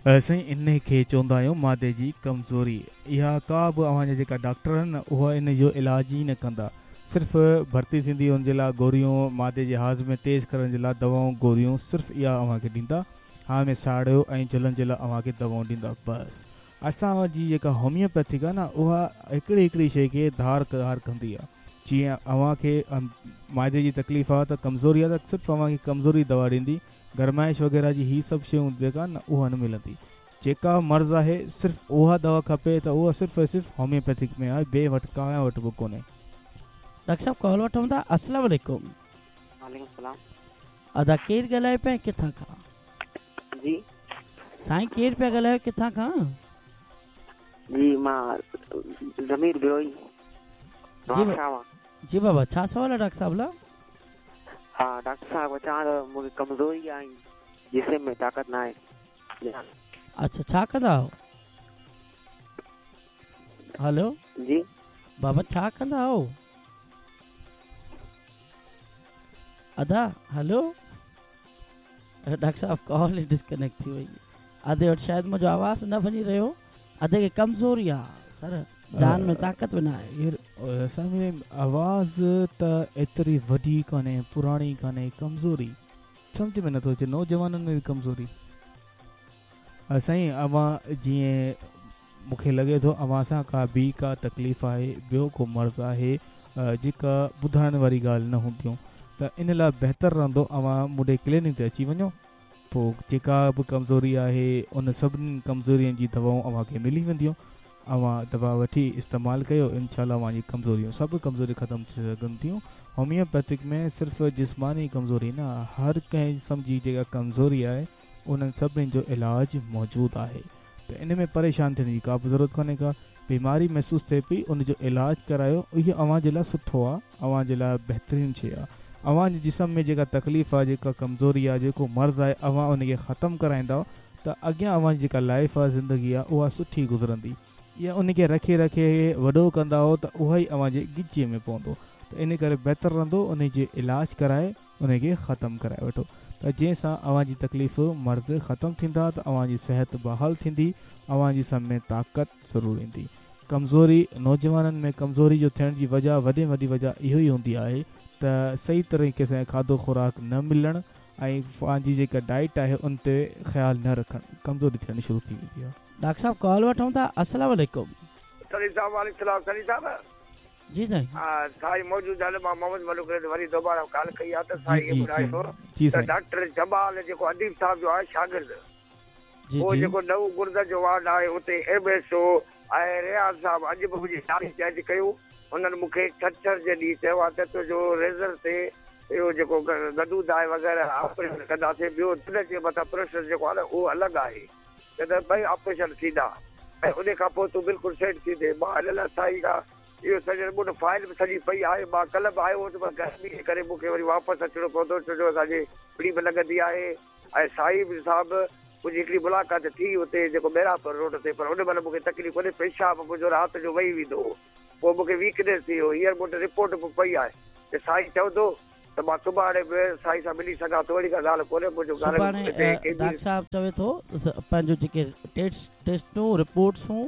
साईं इन खे चवंदा आहियूं मादे जी कमज़ोरी। इहा का बि अव्हांजा जेका डॉक्टर आहिनि न उहा इन जो इलाज ई न कंदा, सिर्फ़ु भर्ती थींदी उनजे लाइ गोलियूं, मादे जे हाज़मे तेज़ करण जे लाइ दवाऊं गोलियूं सिर्फ़ु इहा अव्हांखे ॾींदा, हा में साड़ियो ऐं जलन जे लाइ अव्हांखे दवाऊं ॾींदा बसि। असांजी जेका होमियोपैथिक आहे न उहा हिकिड़ी हिकिड़ी शइ खे धार धार कंदी आहे। जीअं अव्हांखे मादे जी तकलीफ़ आहे त कमज़ोरी आहे त सिर्फ़ु अव्हांखे कमज़ोरी दवा ॾींदी, गरमाइश वग़ैरह जी ही सभु शयूं जेका न उहा न मिलंदी। जेका मर्ज़ आहे सिर्फ़ु उहा दवा खपे त उहा सिर्फ़ु ऐं सिर्फ़ु होमियोपैथिक में आहे, ॿिए वटि कंहिं वटि बि कोन्हे। डॉक्टर साहिब कॉल वठूं था। अस्सलाम वालेकुम। वालेकुम सलाम। अदा केरु ॻाल्हायो पिया किथां खां? जी साईं केरु पिया ॻाल्हायो किथां खां? जी मां ज़मीर बिरोही। जी जी बाबा, छा सवाल आहे डॉक्टर साहिब लाइ? हा डॉक्टर साहिब, चवां थो मूंखे कमज़ोरी आहे, जिस्म में ताक़त न आहे। अच्छा, छा कंदा आहियो? हेलो जी बाबा, छा कंदा आहियो? अदा हेलो डॉक्टर साहिब कॉल डिस्कनेक्ट थी वई। अदे वटि शायदि मुंहिंजो आवाज़ न वञी रहियो। अदे खे कमज़ोरी आहे सर, जान में ताक़त बि न आहे। साईं आवाज़ त एतिरी वॾी कान्हे, पुराणी कान्हे, कमज़ोरी सम्झ में नथो अचे, नौजवाननि में बि कमज़ोरी। साईं अवां जीअं मूंखे लॻे थो अवां सां का ॿी का तकलीफ़ आहे, ॿियो को मर्ज़ आहे जेका ॿुधाइण वारी ॻाल्हि न हूंदियूं, त इन लाइ बहितर रहंदो अवां मुंहिंजे क्लिनिक ते अची वञो, पोइ जेका बि कमज़ोरी आहे उन सभिनी कमज़ोरियुनि जी दवाऊं अव्हांखे मिली वेंदियूं, अव्हां दवा वठी इस्तेमालु कयो, इनशा अव्हांजी कमज़ोरियूं सभु कमज़ोरी ख़तमु थी सघनि थियूं। होमियोपैथिक में सिर्फ़ु जिस्मानी कमज़ोरी न, हर कंहिं क़िस्म जी जेका कमज़ोरी आहे उन्हनि सभिनी जो इलाज मौजूदु आहे, त इन में परेशान थियण जी का बि ज़रूरत कोन्हे का। बीमारी महसूसु थिए पई उनजो इलाज करायो, इहो अव्हां जे लाइ सुठो आहे, अव्हां जे लाइ बहितरीनु शइ आहे। अव्हांजे जिस्म में जेका तकलीफ़ आहे, जेका कमज़ोरी आहे, जेको मर्ज़ आहे, अव्हां उनखे ख़तमु कराईंदव त अॻियां अव्हांजी जेका लाइफ आहे, ज़िंदगी आहे, उहा सुठी गुज़रंदी। या उनखे रखे रखे वॾो कंदा त उहा ई अव्हांजे गिचीअ में पवंदो, त इन करे बहितर रहंदो उन जे इलाज कराए उनखे ख़तमु कराए वठो, त जंहिंसां अव्हांजी तकलीफ़ मर्ज़ ख़तमु थींदा त अव्हांजी सिहत बहाल थींदी, अव्हांजी जिस्म में ताक़त ज़रूरु ईंदी। कमज़ोरी नौजवाननि में कमज़ोरी जो थियण जी वजह वॾी में वॾी वजह इहो ई हूंदी आहे त सही तरीक़े सां खाधो ख़ुराक न मिलणु ऐं पंहिंजी जेका डाइट आहे उन ते ख़्यालु न रखणु, कमज़ोरी थियणु शुरू थी वेंदी आहे। डॉक्टर साहब कॉल वठूं था। अस्सलाम वालेकुम। सलीम साहब वालेकुम सलाम। सलीम साहब जी साईं। हां साईं मौजूद आहिनि, मां मोहम्मद मलूक वरी दोबारा कॉल कई आहे त साईं इहो ॿुधाए थो त डॉक्टर जमाल जेको अदीब साहब जो आहे शागिर्द, उहो जेको नओं गुर्द जो वार्ड आहे उते एम एस ओ ऐं रियाज़ साहब अॼु बि मुंहिंजी तारीफ़ चेंज कयूं। हुननि मूंखे छंछर जे ॾींहुं चयो आहे त तुंहिंजो रेज़र ते इहो जेको गदूद आहे वग़ैरह ऑपरेशन कंदासीं, ॿियो दिल जे मथां प्रेशर जेको आहे न उहो अलॻि आहे, त ॿई ऑपरेशन थींदा ऐं उन खां पोइ तूं बिल्कुलु सेट थी थिए। मां हिन लाइ साईं खां इहो सॼो मूं वटि फाइल बि सॼी पई आहे, मां कल्ह बि आयो हुउसि पर गर्मी जे करे मूंखे वरी वापसि अचिणो पवंदो, छो जो असांजी पिड़ी बि लॻंदी आहे। ऐं साईं साहब मुंहिंजी हिकिड़ी मुलाक़ात थी उते जेको मेरापुर रोड ते, पर उन महिल मूंखे तकलीफ़ कोन्हे, पेशाब मुंहिंजो राति जो वही वेंदो हो, पोइ मूंखे वीकनेस थी वियो। हींअर मूं वटि रिपोर्ट बि पई आहे त साईं चवंदो त मां सुभाणे बि साईं सां मिली सघां थो, अहिड़ी का ॻाल्हि कोन्हे। मुंहिंजो सुभाणे डॉक्टर साहब चवे थो पंहिंजो जेके टेस्ट टेस्टूं रिपोर्ट्सूं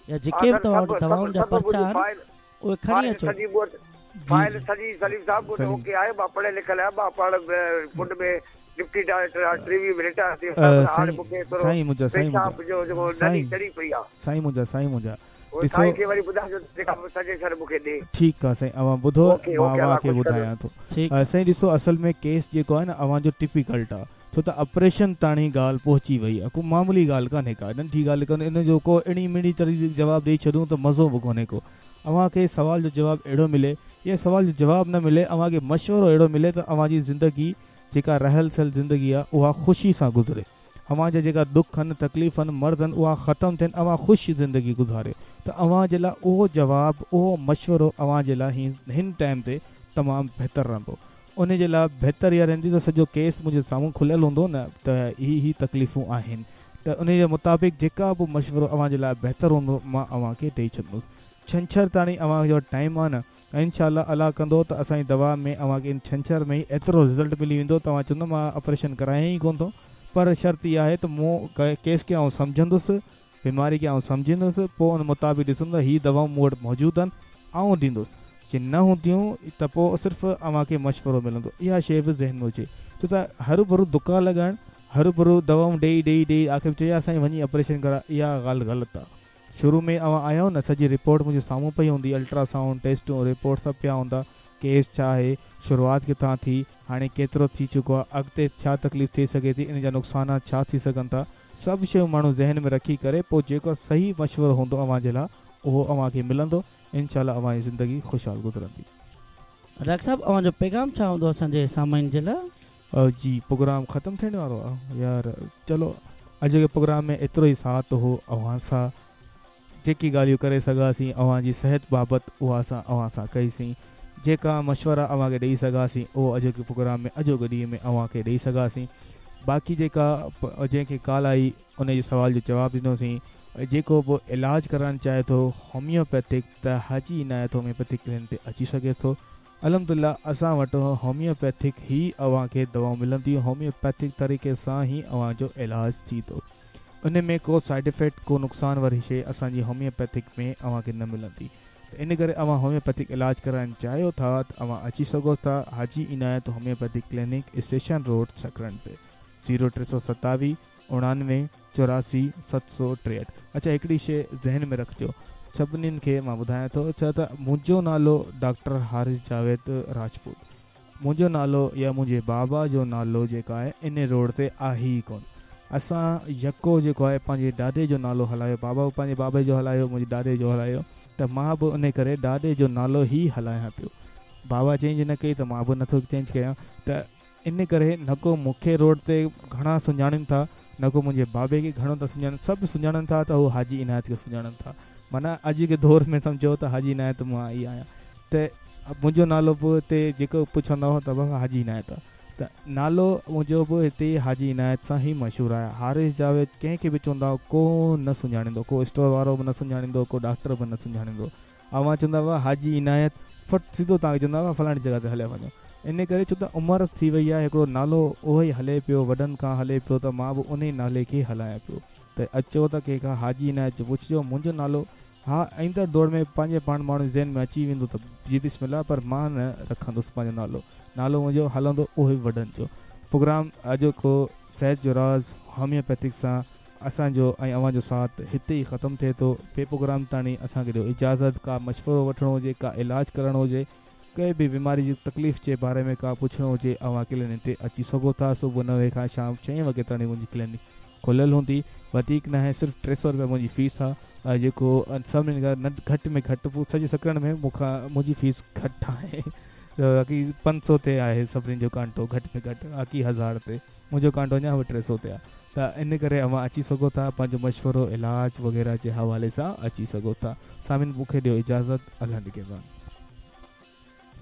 या जेके बि तव्हां वटि दवाउनि जा पर्चा आहिनि उहे खणी अचो। फाइल सॼी सलीम साहब मूं वटि ओके आहे, मां पढ़ियल लिखियल आहियां, मां पाण फुड में डिप्टी डायरेक्टर टीवी में रिटायर थी वियुसि, हाणे मूंखे थोरो साईं मुंहिंजा साईं जो जेको नली चढ़ी पई आहे। साईं मुंहिंजा साईं मुंहिंजा साईं खे वरी ॿुधाइजो जेका सजेशन मूंखे ॾे। ठीकु आहे साईं, अव्हां ॿुधो, मां अव्हांखे ॿुधायां थो। साईं ॾिसो असल में केस जेको आहे न अव्हांजो टिपिकल्ट आहे, छो त ऑपरेशन ताणी ॻाल्हि पहुची वई आहे, को मामूली ॻाल्हि कान्हे का, नंढी ॻाल्हि कान्हे, इन जो को अहिड़ी मिड़ी तरीक़े जवाबु ॾेई छॾूं त मज़ो बि कोन्हे को। अव्हांखे सवाल जो जवाबु अहिड़ो मिले या सवाल जो जवाबु न मिले, अव्हांखे मशवरो अहिड़ो मिले त अव्हांजी ज़िंदगी जेका रहल सहल ज़िंदगी आहे उहा ख़ुशी सां गुज़रे, अव्हांजा जेका ॾुख आहिनि, तकलीफ़ आहिनि, मर्ज़ आहिनि, उहा ख़तमु थियनि, अव्हां ख़ुशि ज़िंदगी गुज़ारियो। त अव्हां जे लाइ उहो जवाबु उहो मशवरो अव्हां जे लाइ हिन टाइम ते तमामु बहितर रहंदो। उन जे लाइ बहितर इहा रहंदी त सॼो केस मुंहिंजे साम्हूं खुलियल हूंदो न त ही ही तकलीफ़ूं आहिनि, त उन जे मुताबिक़ जेका बि मशवरो अव्हां जे लाइ बहितर हूंदो मां अव्हांखे ॾेई छॾींदुसि। छंछर ताणी अव्हांजो टाइम आहे न, इनशा अलाह कंदो त असांजी दवा में अव्हांखे छंछर में ई एतिरो रिज़ल्ट मिली वेंदो, तव्हां चवंदो मां ऑपरेशन करायां ई कोन थो, पर शर्त इहा आहे त मूं केस खे आउं सम्झंदुसि, बीमारी खे आउं सम्झींदुसि, पोइ उन मुताबिक़ ॾिसंदुसि हीअ दवाऊं मूं वटि मौजूदु आहिनि आउं ॾींदुसि, जे न हूंदियूं त पोइ सिर्फ़ु अव्हांखे मशवरो मिलंदो। इहा शइ बि ज़हन में हुजे, छो त हरू भरू धुका लॻाइणु, हरू भरू दवाऊं ॾेई ॾेई ॾेई आख़िर चयो असां वञी ऑपरेशन करा, इहा ॻाल्हि ग़लति आहे। शुरू में अव्हां आया न सॼी रिपोर्ट मुंहिंजे साम्हूं पई हूंदी, अल्ट्रासाउंड टेस्टूं रिपोर्ट सभु पिया हूंदा, केस छा आहे, शुरूआत किथां थी, हाणे केतिरो थी चुको आहे, अॻिते छा तकलीफ़ थी सघे थी, इन जा नुक़सान छा थी सघनि था, सभु शयूं माण्हू ज़हन में रखी करे पोइ जेको सही मशवरो हूंदो अव्हां जे लाइ उहो अव्हांखे मिलंदो, इनशा अव्हांजी ज़िंदगी ख़ुशहाल गुज़रंदी। डॉक्टर साहब अव्हांजो पैगाम छा हूंदो असांजे सामाइन जे लाइ? जी प्रोग्राम ख़तमु थियण वारो आहे यार, चलो अॼु जे प्रोग्राम में एतिरो ई साथ हो अव्हां सां, जेकी ॻाल्हियूं करे सघासीं अव्हांजी सिहत बाबति उहा असां अव्हां सां कईसीं, जेका मशवरा अव्हांखे ॾेई सघासीं उहो अॼोके प्रोग्राम में अॼोके ॾींहुं में अव्हांखे ॾेई सघासीं। बाक़ी जेका जंहिंखे कॉल आई उन जे सवाल जो जवाबु ॾिनोसीं। जेको बि इलाज कराइणु चाहे थो होमियोपैथिक त हाजी इनायत होमियोपैथिक क्लिनिक ते अची सघे थो। अल्हम्दुलिल्लाह असां वटि होमियोपैथिक ई अव्हांखे दवाऊं मिलंदियूं, होमियोपैथिक तरीक़े सां ई अव्हांजो इलाज थींदो, उन में को साइड इफ़ेक्ट को नुक़सान वारी शइ असांजी होमियोपैथिक में अव्हांखे न मिलंदी। त इन करे अवां होम्योपैथिक इलाज कराइण चाहियो था त अवां अची सघो था Haji Inayat homeopathic clinic, station road, Sakrand ते। ज़ीरो टे सौ सतावीह उणानवे चौरासी सत सौ टेहठि। अच्छा, हिकिड़ी शइ ज़हन में रखिजो, सभिनीनि खे मां ॿुधायां थो छा त मुंहिंजो नालो डॉक्टर हारिस जावेद राजपूत, मुंहिंजो नालो या मुंहिंजे बाबा जो नालो जेका आहे इन रोड ते आहे ई कोन। असां यको जेको आहे पंहिंजे ॾाॾे जो नालो हलायो, बाबा बि पंहिंजे बाबे जो हलायो, मुंहिंजे ॾाॾे जो हलायो, त मां बि उन करे ॾाॾे जो नालो ई हलायां पियो। बाबा चेंज न कई त मां बि नथो चेंज कयां। त इन करे न को मूंखे रोड ते घणा सुञाणनि था, न को मुंहिंजे बाबे खे घणो था सुञाणनि, सभु सुञाणनि था त हू हाजी इनायत खे सुञाणनि था। माना अॼु के दौर में सम्झो त हाजी इनायत मां ई आहियां। त मुंहिंजो नालो बि हिते जेको पुछंदो हो त बाबा हाजी इनायत आहे, त नालो मुंहिंजो बि हिते हाजी इनायत सां ई मशहूरु आहे। हारिस जावेद कंहिंखे बि चवंदा को न सुञाणींदो, को स्टोर वारो बि न सुञाणींदो, को डॉक्टर बि न सुञाणींदो। अवां चवंदा हुआ हाजी इनायत, फट सिधो तव्हांखे चवंदा हुआ फलाणी जॻह ते हलिया वञो। इन करे छो त उमिरि थी वई आहे, हिकिड़ो नालो उहो ई हले पियो, वॾनि खां हले पियो, त मां बि उन ई नाले खे हलायां पियो। त अचो त कंहिंखां हाजी इनायत जो पुछिजो मुंहिंजो नालो। हा, ईंदड़ दौर में पंहिंजे पाण माण्हू ज़हन में अची वेंदो त जी बिस्मिल्लाह, पर मां न रखंदुसि पंहिंजो नालो, नालो मुंहिंजो हलंदो उहो ई वॾनि जो। प्रोग्राम अॼोको सेहत जो राज़ होम्योपैथिक सां असांजो ऐं अव्हांजो साथ हिते ई ख़तमु थिए थो। ॿिए प्रोग्राम ताणी असांखे ॾियो इजाज़त। का मशवरो वठिणो हुजे, का इलाज करणो हुजे, कंहिं बि बीमारी जी तकलीफ़ जे बारे में का पुछिणो हुजे, अव्हां क्लिनिक ते अची सघो था। सुबुह नवे खां शाम छह वॻे ताणी मुंहिंजी क्लिनिक खुलियल हूंदी, वधीक न आहे, सिर्फ़ु टे सौ रुपया मुंहिंजी फीस आहे, जेको सभिनीनि खां न घटि में घटि पोइ सॼे सकरण में मूंखां मुंहिंजी फीस घटि आहे। बाक़ी पंज सौ ते आहे सभिनीनि जो कांटो घटि में घटि, बाक़ी हज़ार ते मुंहिंजो कांटो अञा बि टे सौ ते आहे। त इन करे अव्हां अची सघो था, पंहिंजो मशवरो इलाज वग़ैरह जे हवाले सां अची सघो था। सामिन मूंखे ॾियो इजाज़त, अल्लाह निगहबान।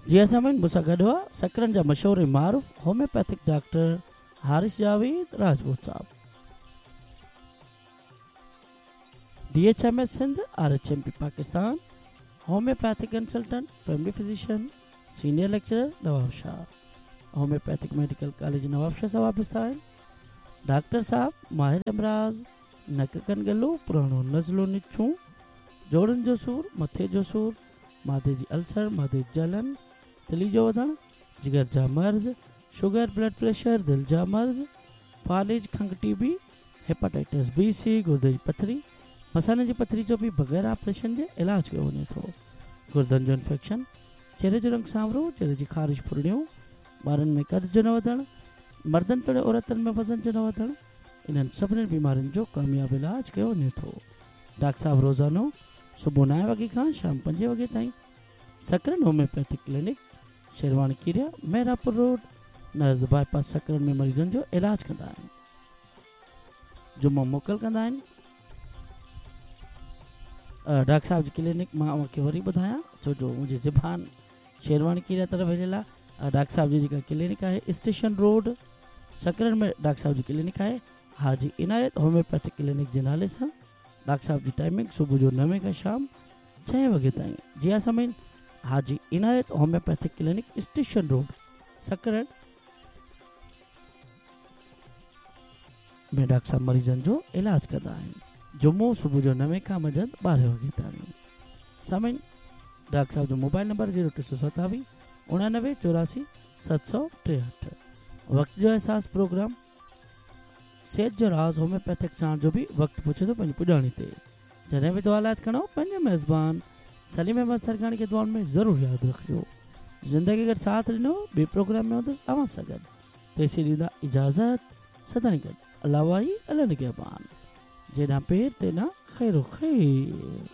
जी सामिन, मूंसां गॾु हुआ सकरनि जा मशहूर मारूफ़ होम्योपैथिक डॉक्टर हारिस जावेद राजपूत साहब, D H M S Sindh, R H M P Pakistan, homeopathic consultant, family physician, senior lecturer Nawabshah, homeopathic medical college Nawabshah सां वाबस्ता आहिनि। डॉक्टर साहब माहिर अमराज़, नक कन गलो, पुराणो नज़लो निछूं, जोड़नि जो सूर, मथे जो सूर, माथे जी अल्सर, माथे जी जलन, तिली जो वधणु, जिगर जा मर्ज़, शुगर, ब्लड प्रेशर, दिलि जा मर्ज़, फालिज, खंघ, टीबी, हेपाटाइटिस बी सी, गुर्दे जी पथरी, मसाने जी पथरी जो बि बग़ैर ऑपरेशन जे इलाज कयो वञे थो। गुर्दनि जो इन्फेक्शन, चेहरे जो रंग सांवरो, चेहरे जी ख़ारिश फुरड़ियूं, ॿारनि में कद जो न वधणु, मर्दनि तोड़े औरतुनि में वज़न जो न वधणु, इन्हनि सभिनी बीमारियुनि जो कामयाबु इलाज कयो वञे थो। डॉक्टर साहब रोज़ानो सुबुह नवे वॻे खां शाम पंजे वॻे ताईं Sakrand homeopathic clinic, Sherwani Keria, Mehrapur road, नज़ बाईपास सकरंड में मरीज़नि जो इलाज कंदा आहिनि। जुम्मो मोकल कंदा आहिनि। डॉक्टर साहब जी क्लिनिक मां अव्हांखे वरी ॿुधायां, छो जो मुंहिंजी ज़बान शेरवाणी कीरिया तरफ़ हिलियल आहे। डॉक्टर साहब जी जेका क्लिनिक आहे स्टेशन रोड सकरंड में डॉक्टर साहब जी क्लिनिक आहे, हाजी इनायत होम्योपैथिक क्लिनिक जे नाले सां। डॉक्टर साहब जी टाइमिंग सुबुह जो नवे खां शाम छह वॻे ताईं। जी हा सामीन, Haji Inayat homeopathic clinic, station road, Sakrand में डॉक्टर साहब मरीज़नि जो इलाज कंदा आहिनि। जुम्मो सुबुह जो नवे खां मंझंदि ॿारहें वॻे ताईं। सामीन, डॉक्टर साहब जो मोबाइल नंबर ज़ीरो टे सौ सतावीह उणानवे चौरासी सत सौ टेहठि। वक़्त जो एहसास प्रोग्राम सेहत जो राज़ होम्योपैथिक साण जो बि वक़्तु पुछे थो पंहिंजी पुॼाणी ते। जॾहिं बि दुआ लाइ खणो पंहिंजे मेज़बान सलीम अहमद सरगाणी खे दुआउनि में ज़रूरु यादि रखिजो। ज़िंदगी अगरि साथ ॾिनो ॿिए प्रोग्राम में हूंदुसि अव्हां सां गॾु। तेसीं ॾींदा इजाज़त, सदाईं गॾु। अलाह वाही, अल्लाह निगहबान। जेॾां पेर तेॾां ख़ैरो ख़ैर।